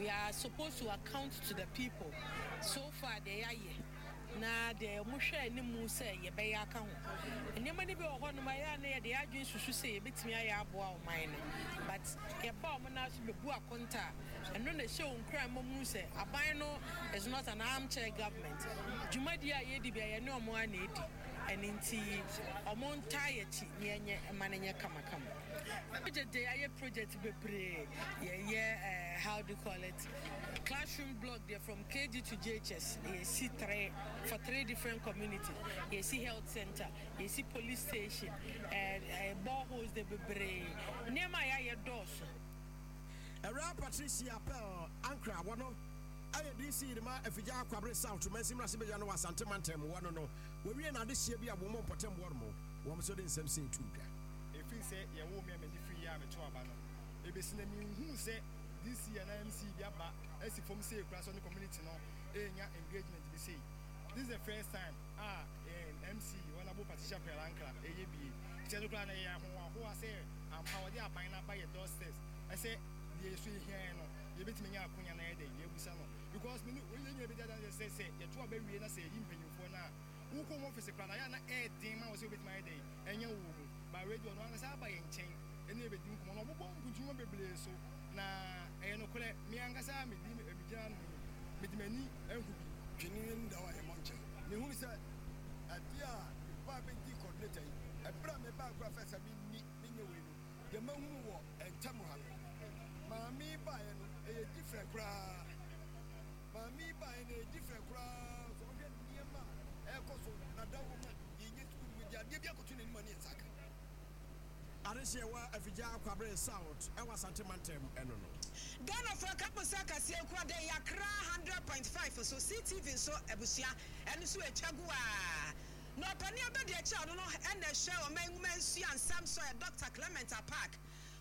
We are supposed to account to the people so far deɛ yɛayɛ na deɛ wɔhwɛ anim sɛ yɛbɛyɛ aka ho. Nneɛma no bi wɔ hɔnom a ɛyɛ a na yɛde yɛn adwene susu sɛ yɛbɛtumi ayɛ aboa ɔman no but yɛba wɔn nan so bɛbu akonta a, ɛno na ɛhyɛ wɔn nkuran ma wɔhu sɛ aban no is not an armchair government. Dwumadie a yɛdi biara yɛne wɔn ara na ɛdi. Ɛno nti wɔn ntaa yɛn akyi na yɛnyɛ mma no nyɛ kamakama. Project deɛ yɛayɛ project bebree. Yɛyɛ eh, how do you call it, classroom block deɛ from KG to JHS yɛsi three for three different communities. Yɛsi health center, yɛsi police station, eh, eh, boreholes deɛ bebree. Nneɛma a yɛayɛ dɔɔso. Awuraa Patricia Pearl Ankrah wɔno ɛyɛ DC de ma Afigya Kwabre South mansin mmarahyɛbadwa no wɔ Asante mantam wɔ no no wɔwie n'adehyeɛ bi a wɔn mpɔtam wɔ no wɔn nso de nsɛm sei too dwa. Ɛfiri sɛ yɛwoo me a m'ani firi yɛ a meto aba no ɛbɛsi nnɛ menhuu sɛ DC anaa MC bi aba asi fam sei koraa sɛ ɔne community no renya engagement bi sei. This is the first time a yɛn MC Honourable Patricia Pearl Ankrah reyɛ bie. Nti ɛno koraa no ɛyɛ ahohoahoa sɛ ampa wɔde aban no aba yɛn doorsteps sɛ deɛ yɛso yɛhia yɛn no yɛbɛtumi anya akonya na yɛdɛn yɛabusa no because me ne yɛn nyinaa bɛdi adanseɛ sɛ sɛ yɛto aba wie na sɛ yɛyi mpanyinfoɔ no a wokɔ wɔn office koraa no ayɛ a na ɛyɛ den ma wo sɛ wobɛtumi ayɛ dɛn anya wɔ mu but wei deɛ ɔno ankasa aba yɛn nkyɛn ɛne yɛbɛdi nkɔmmɔ na ɔbobɔ mpuntunnwuma bebree so na ɛyɛ nokorɛ me ankasa medi megyina ano yi mede m'ani ahu bi. Twene no da hɔ a yɛmmɔ nkyɛn. Mehunu sɛ adeɛ a mebaa bɛdii coordinator yi, ɛberɛ a mebaa koraa first a menni menyɛ wei no, deɛ mahunu wɔ ntam ha no, maame yi baeɛ no ɛyɛ different koraa. Maame yi baeɛ no ɛyɛ different koraa. Sɛ wohwɛ nneɛma a ɛrekɔ so na dawuro ma yɛnyɛ sukuu no mu de adeɛ bi akɔto n'anim a ne yɛn nsa aka. Adehyeɛ wɔ Afigya Kwabre South ɛwɔ Asante mantam ɛno no. Ghanafoɔ ɛka mo sɛ kaseɛ nko a dɛn Accra 100.5 so CTV nso abusua ɛno nso ɛtwa gu aa Na ɔpanin abadiakyire a ɔno no ɛna ɛhwɛ ɔman nwuma nsua nsɛm so ɛ Doctor Clement Apaak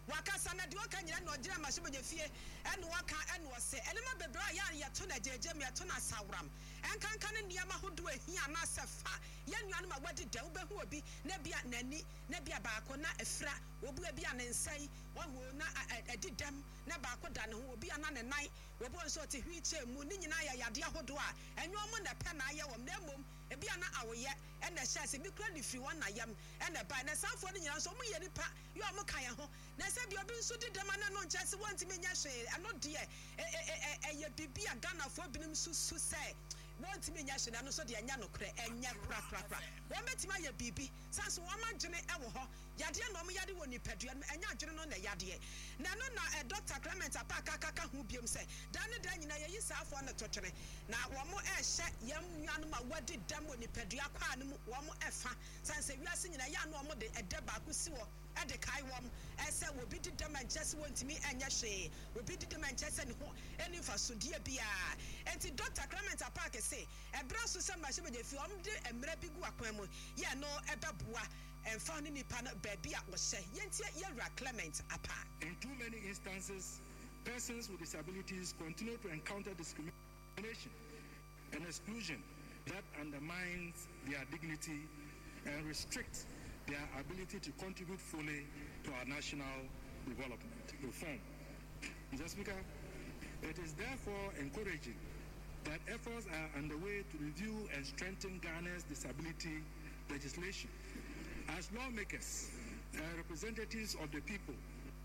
wakasa na deɛ ɔka nyina na ɔgyina mmarahyɛbadwafie ɛna ɔka ɛna ɔse nneɛma bebree a yɛ a yɛto no agyaagyam yɛto no asaworam ɛnkanka ne nneɛma ahodoɔ ɛhia anaasɛ fa yɛn nuanom a wadi dɛm wobɛhu obi na ebia n'ani na ebia baako na afira, obi ebia ne nsa yi, wahu o, na adi dɛm, na baako da ne ho, obi a na ne nan, obi wɔ hɔ nso ɔte wheel chair mu, ne nyinaa yɛ yadeɛ ahodoɔ a ɛnyɛ wɔn na ɛpɛ na ayɛ wɔn, na mmom ebia na awoyɛ na ɛhyɛ ase, ebi koraa de firi wɔn na yam na ɛbaeɛ, na saa afoɔ no nyinaa nso wɔyɛ nnipa, yɛ wɔn ka yɛn ho, na sɛ ebia obi nso di dɛm a na ɛno nkyerɛ sɛ wɔntumi nyɛ hwee, ɛno deɛ ɛyɛ biribi a Ghanafoɔ binom susu sɛ wɔntumi nyɛ hwee, na ɛno nso deɛ ɛnyɛ nokorɛ, ɛnyɛ korakorakora, wɔbɛtumi ayɛ biribi. Sane nso wɔn adwene wɔ hɔ. Yadeɛ na wɔn yare wɔ nipadua no mu, ɛnyɛ adwene no na ɛyadeɛ. Na ɛno na Dɔkta Clement Apaak aka ka ho biom sɛ, Daa ne daa nyinaa yɛyi saa afoɔ no to twene, na wɔn rehyɛ yɛn nuanom a wɔadi dɛm wɔ nipadua kwaa no mu wɔn fa. Sane sɛ wiase nyinaa ɛyɛ a na wɔn de ɛdɛ baako si hɔ de kae wɔn sɛ obi di dɛm a ɛnkyerɛ sɛ wɔntumi nyɛ hwee, obi di dɛm a ɛnkyerɛ sɛ ne ho nni mfasodeɛ biara. Enti Dɔkta Clement Apaak se, Ɛberɛ aso sɛ mmarahyɛbadwafie wɔn de mmara bi gu akwan mu yɛ ɛno bɛboa ɛmfa ho ne nipa no baabi a ɔhyɛ. Yɛntie Yɛwura Clement Apaa. In too many instances, persons with disabilities continue to encounter discrimination and exclusion that undermines their dignity and restricts their ability to contribute fully to our national development. Reform. Mr. Speaker, it is therefore encouraging that efforts are underway to review and strengthen Ghana's disability legislation. As lawmakers and representatives of the people,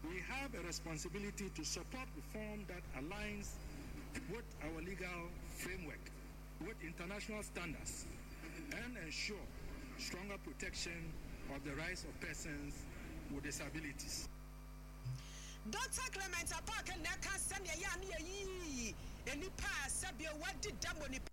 we have a responsibility to support reform that aligns with our legal framework, with international standards, and ensure stronger protection of the rights of persons with disabilities. Dɔkta Clement Apaak na ɛka sɛnea ɛyɛ a na yɛyiyi nnipa a sɛbio wɔadi dɛm wɔ nipa.